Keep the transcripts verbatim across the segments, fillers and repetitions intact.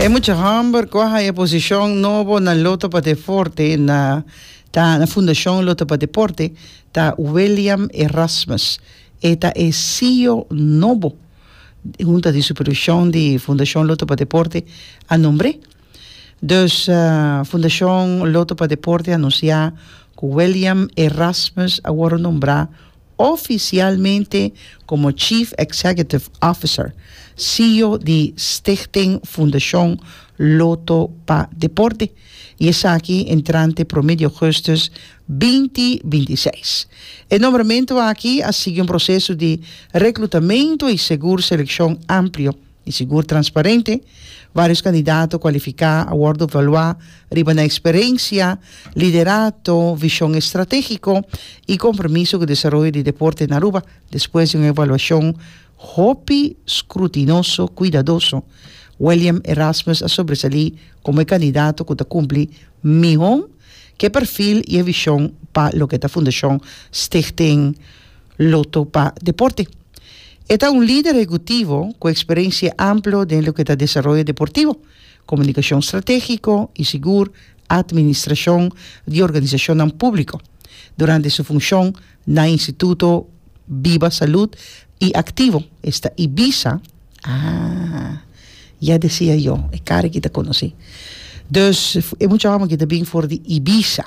E mucha hòmber ku a haña posishon nobo na Lotto pa Deporte na ta na Fundashon Lotto pa Deporte ta William Erasmus. E ta e C E O nobo. Hunta di Supervishon di Fundashon Lotto pa Deporte a nombr'é. Dus uh, Fundashon Lotto pa Deporte a anunsiá ku William Erasmus a wòrdu nombrá ofisialmente komo Chief Executive Officer, C E O di Stichting Fundashon Lotto pa Deporte. I esaki entrante promé di ougùstùs dos mil bintiseis. E nombramentu aki a sigui un proseso di reklutamentu i sigur selekshon amplio i sigur transparente. Vários kandidato kualifiká a wòrdu evaluá riba nan eksperensia, liderato, vishon estratégiko i kompromiso ku desaroyo di deporte na Aruba. Despues di un evaluashon hopi skrutinoso, kuidadoso, William Erasmus a sobresalí komo kandidato ku ta kumpli mihó ku e perfil i vishon pa loke ta Fundashon Stichting Lotto pa Deporte. E ta un lider ehekutivo ku eksperensia amplio den loke ta desaroyo deportivo, komunikashon estratégiko i sigur atministrashon di organisashon públiko. Durante su funshon na Instituto Biba Salud i Aktivo, esta IBISA, ah, ya decía yo, e kara aki ta konosí. Dus, e mucha hòmber ku ta bin for di IBISA.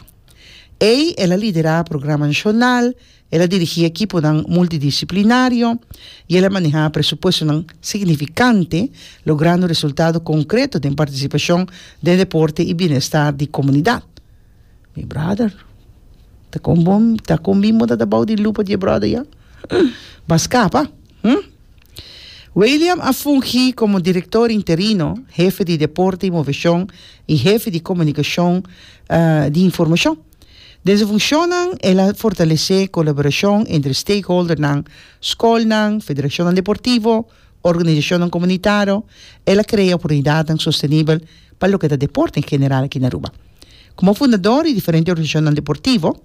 E el a liderá programa nashonal, el a dirigí ekipo multidisiplinario i el a manehá presupuesto signifikante, logrando resultado konkreto den partisipashon di deporte i bienestar di komunidat. Mi brother, ta kon bon, ta kon bimo ta bou di lupa di brother ya. B'a skapa, hm? William a fungi komo direktor interino, hefe di deporte i moveshon i hefe di komunikashon uh, di informashon. Den su funshon, el a fortalesé kolaborashon entre stakeholdernan, skolnan, federashon deportivo, organisashon komunitario. El a krea oportunidat sostenibel pa loke ta deporte en general aki na Aruba. Komo fundadó di diferente organisashon deportivo,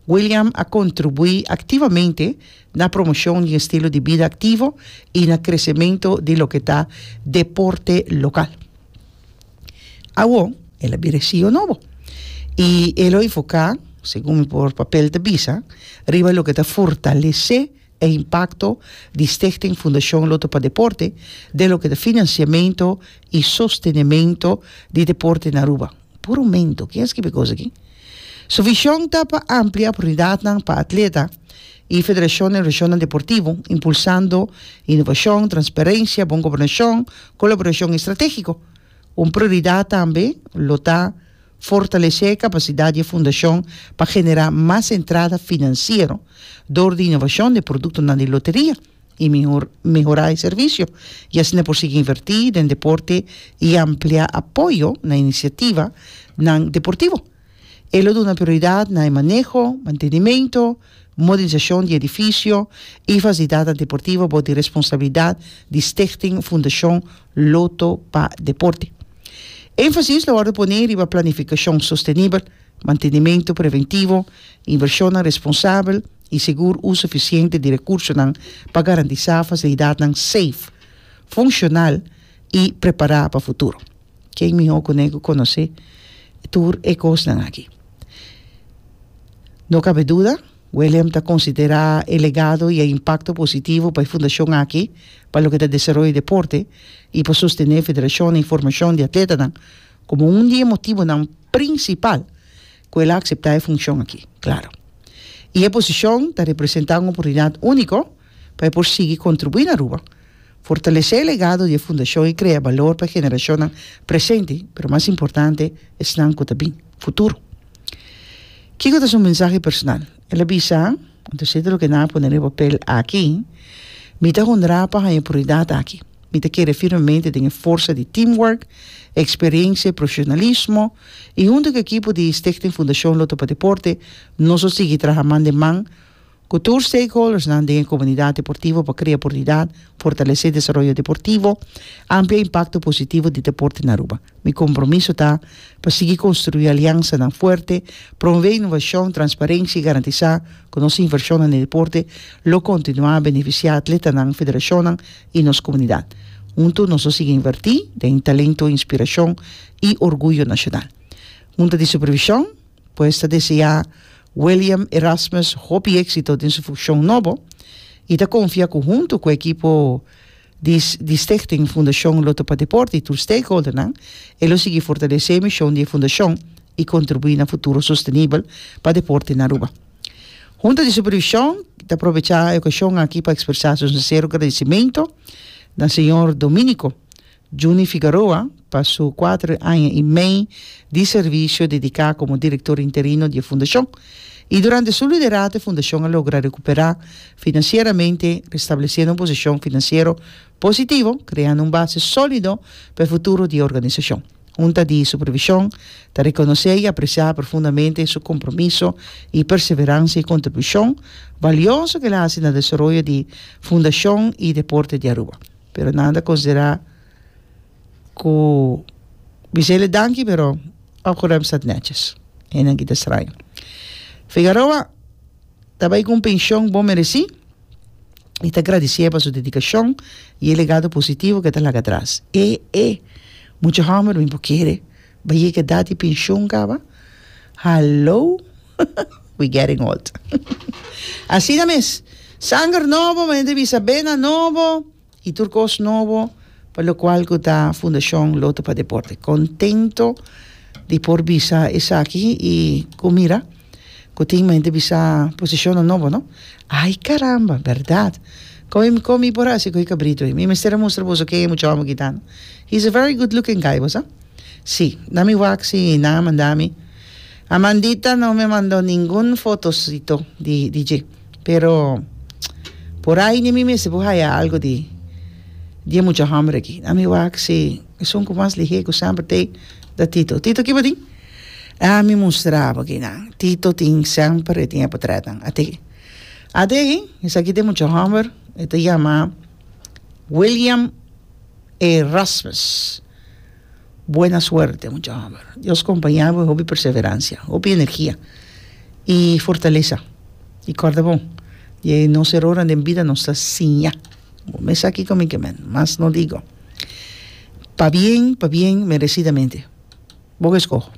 William a kontribuí aktivamente na promoshon di estilo di bida aktivo i na kresementu di loke ta deporte lokal. Awor, el a bira C E O nobo. I el a enfoká, segun por papel ta bisa, riba loke ta fortalesé e impakto di Stichting Fundashon Lotto pa Deporte, den loke ta finansiamentu i sostenimentu di deporte na Aruba. Por un momento, ken a skirbi e kos aki? Su vishon ta pa amplia oportunidat pa atleta i federashon i organisashon deportivo, impulsando inovashon, transparensia, bon gobernashon, kolaborashon estratégiko. Un prioridat tambe lo ta fortalesé kapasidat di fundashon pa generá mas entrada finansiero dor di inovashon di produktonan di loteria i mehor, mehorá e servisio. I asina por sigui invertí den deporte i amplia apoyo na inisiativanan deportivo. E lo duna prioridat na maneho, mantenimento, modernisashon di edifisio i fasilidat deportivo bou di responsabilidat di Stichting Fundashon Lotto pa Deporte. Énfasis lo wòrdu pone riba planifikashon sostenibel, mantenimento preventivo, invershon responsabel i sigur uso efisiente di rekursonan pa garantisá fasilidat safe, funshonal i prepará pa futuro. Ken mihó ku konosé tur e kosnan aki? No kabe duda, William ta konsiderá e legado i e impakto positivo pa e fundashon aki, pa loke ta desaroyo di deporte i pa sostené federashon i formashon di atleta komo un di e motivonan prinsipal ku el a aseptá e funshon aki, klaro. I e posishon ta representá un oportunidat úniko pa por sigui kontribuí na Aruba, fortalesé e legado di fundashon i krea balor pa e generashon presente, pero mas importante, esnan ku tambe futuro. Kiko ta su mensahe personal? El a bisa, anto loke nan a pone na papel aki: "Mi ta honrá pa e oportunidat aki. Mi ta kere firmemente den forsa di teamwork, eksperensia, profeshonalismo i huntu ku e ekipo di Stichting Fundashon Lotto pa Deporte, nos lo sigui traha man den man ku tur stakeholders den komunidat deportivo pa krea oportunidat, fortalesé desaroyo deportivo, amplia impakto positivo di deporte na Aruba. Mi kompromiso ta pa sigui konstruí aliansanan fuerte, promové inovashon, transparensia i garantisá ku nos invershon den deporte lo kontinuá benefisiá atletanan, federashon i nos komunidat." Hunto nos ta sigui inverti den talento, inspiracion y orguyo nacional. Hunta di Supervision, pues, ta desea William Erasmus hopi exito den su funcion nobo y ta confia cu hunto cu e ekipo di, di Stichting Fundacion Lotto pa Deporte y tur stakeholder nan, e lo sigui fortalece e mision di fundacion y contribui na futuro sostenibel pa deporte na Aruba. Hunta di Supervision ta aprovecha e ocasion aki pa expresa su sincero agradecimento na señor Dominico Juni Figueroa pa su cuater aña y mey di servicio dedica como director interino di fundacion. Y durante su liderato, e fundacion a logra recupera financieramente, restableciendo un posicion financiero positivo, creando un base solido pa e futuro di e organisacion. Hunta di Supervision ta reconoce y aprecia profundamente su compromiso y perseverancia y contribucion valioso cu el a haci na desaroyo di fundacion y deporte di Aruba. Pero nan ta considera cu bisele danki, pero opgeruimd staat netjes. En dan kita straño. Figueroa ta bay cu pensioen bon mereci y ta agradeci pa su dedicacion y e legado positivo cu e ta laga atras. E, e, mucha homber, mi kier, bay yega edad di pensioen caba. Hallo? We getting old. Asina mes. Sanger nobo, manera bisa bena nobo y tur cos nobo, pa locual cu ta Fundacion Lotto pa Deporte. Contento di por bisa esaki y cu mira, cu tin manera bisa posicion nobo, no? Ay, caramba, berdad. Con con mi por haci cu cabrito. Mi mester mustra boso cu mucho amo gitano. He's a very good looking guy, bo sa? Si, dami wak si na mandami. Amandita no me mandó ningún fotocito di D J. Pero por ahí ni mi me se haya algo di di mucho hambre aki. Dami wak si esun cu mas lihe cu semper te da Tito. Tito, kico tin? Ah, mi mustra bo aki na. Tito tin semper tin portret. Ate. Ate, esaki tin mucho hambre. E ta yama William Erasmus. Buena suerte, mucho hambre. Dios acompaña bo, hopi perseverancia, hopi energia y fortaleza. Y corda bon. Y nos error en vida nos ta siña. Mes aki con mi ke men, mas no digo. Pa bien, pa bien, merecidamente. Bo escoge.